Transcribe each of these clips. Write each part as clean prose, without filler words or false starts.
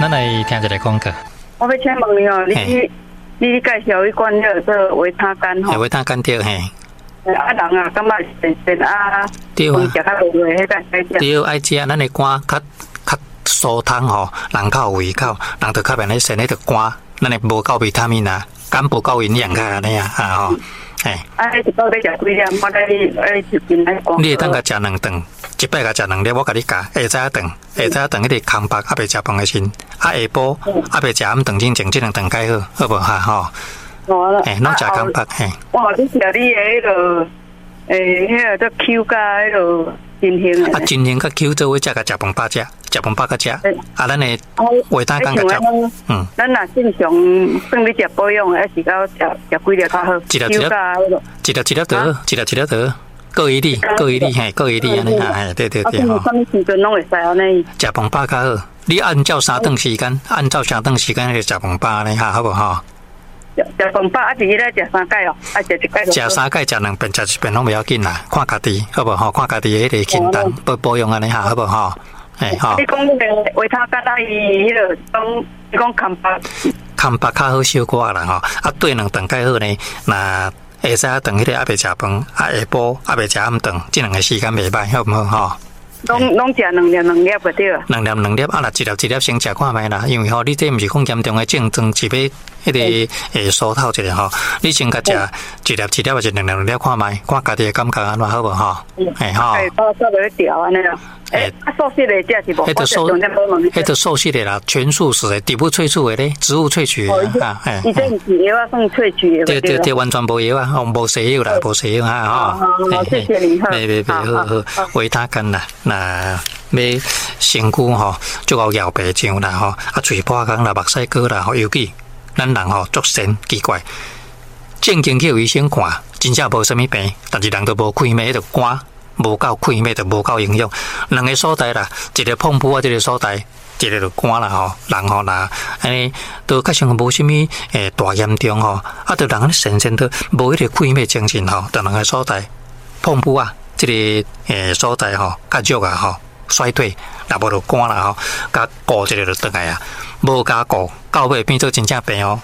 咱來聽一个廣告。我欲請問你哦，你介紹彼款叫做維他乾吼？維他乾對嘿。啊人啊，感覺善善啊，對啊，食較袂落，彼個會使食。對，愛食咱的肝較較疏通吼，人較有胃口，人就較袂咧善彼個肝，咱的無夠維他命啊，肝無夠營養較按呢啊，啊吼，嘿。啊，彼一擺欲食幾粒？我咧愛食真愛你會當共食兩頓，一擺共食兩粒，我共你教。下早頓，下早頓彼個空腹猶未食飯的時陣，啊下晡猶未食暗頓之前，這兩頓較好，好無哈吼？嘿，攏食空腹嘿。我你食你的彼个，彼个叫 Q 佮彼个真興啊，真興佮 Q 做伙食，共食飯飽食，食飯飽佮食。啊，咱的維他乾佮食。咱若正常算咧食保養的，還是講食食幾粒較好？一粒一粒，一粒一粒得，一粒一粒得，各一粒，各一粒，嘿，各一粒按呢啊，嘿，對對對吼。啥物時陣攏會使按呢？食飯飽較好，你按照三頓時間，按照三頓時間去食飯飽呢，哈，好無吼？食飯飽啊，是一日食三擺哦，啊食一擺。食三擺，食兩遍，食一遍攏袂要緊啦，看家己好無吼？看家己的彼個清單保保養按呢哈，好無吼？嘿吼。你講彼個維他乾啊，伊彼個講，你講空腹。空腹較好小可啦吼，啊對兩頓較好呢，若下早頓彼個猶未食飯，啊下晡猶未食暗頓，這兩个時間袂䆀，好毋好吼？攏攏食兩粒兩粒就對。兩粒兩粒，啊若一粒一粒先食看覓啦，因為吼，你這毋是講嚴重的症狀，是欲彼個會疏透一下吼。你先共食一粒一粒，抑是兩粒兩粒看覓，看家己的感覺按怎好無吼？嘿吼。欸，我做袂調按呢咯。欸，啊素食的食是無？彼個素，彼個素食的啦，全素食的，植物萃取的咧，植物萃取的啊。伊這毋是藥仔算萃取的。對對對，完全無藥啊，無西藥啦，無西藥啊，吼。好，謝謝你。袂袂袂，好好，維他乾啦，若欲身軀吼，足夠搖白醬啦吼，啊喙破空啦，目屎乾啦吼，尤其咱人吼足神奇怪，正經去予醫生看，真正無啥物病，但是人都無氣脈，彼個肝無夠氣脈，就無夠營養。兩个所在啦，一个膨噗仔，這个所在，一个就肝啦吼。人吼若按呢，都較像無啥物大嚴重吼，啊，就人按呢神神都無彼個氣脈精神吼，就兩个所在，膨噗仔，這个所在吼較弱啊吼，衰退，若無就肝啦吼，共顧一下就轉來啊，無共顧，到尾變做真正病哦。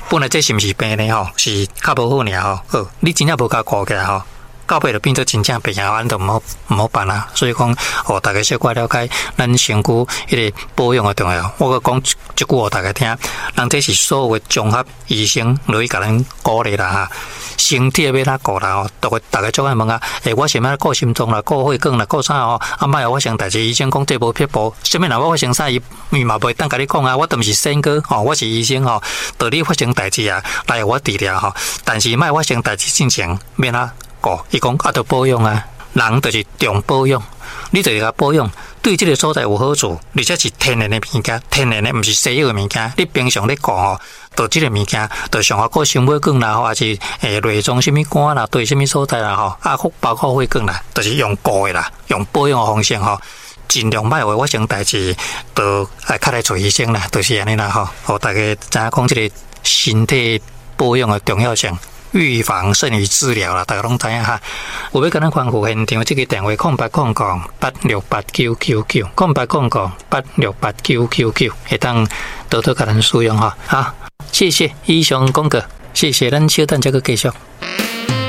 本來這是毋是病呢吼，是較無好爾吼。好，你真正無共顧起來吼，到尾就變做真正病啊，按就毋好毋好辦啊。所以講，予大家小可了解咱身軀彼個保養的重要。我閣講一句予大家聽，人這是所有的綜合醫生落去共咱鼓勵啦哈。身體欲按怎顧啦吼，逐个逐家足愛問啊，欸，我想欲顧心臟啦，顧血管啦，顧啥吼？啊，莫予發生代誌，醫生講這無撇步，啥物若欲發生啥，伊伊嘛袂當共你講啊。我都毋是仙哥吼，我是醫生吼，著你發生代誌啊，來予我治療吼。但是莫發生代誌進前，欲按怎顧？伊講啊，著保養啊，人就是重保養，你就是共保養，對這个所在有好處，而且是天然的物件，天然的毋是西藥的物件。你平常咧顧吼，著這个物件，著上好顧心血管啦，吼，抑是內臟啥物肝啦，對啥物所在啦，吼，啊，包括血管啦，就是用顧的啦，用保養的方式吼，盡量莫予發生代誌，著愛較來揣醫生啦，就是按呢啦吼，予大家知影講這个身體保養的重要性。預防勝於治療啦，大家攏知影哈。有欲共咱歡呼現場，這个電話空八空空八六八九九九，空八空空八六八九九九，會當多多共咱使用哈。好，謝謝以上廣告，謝謝，咱小等再閣繼續。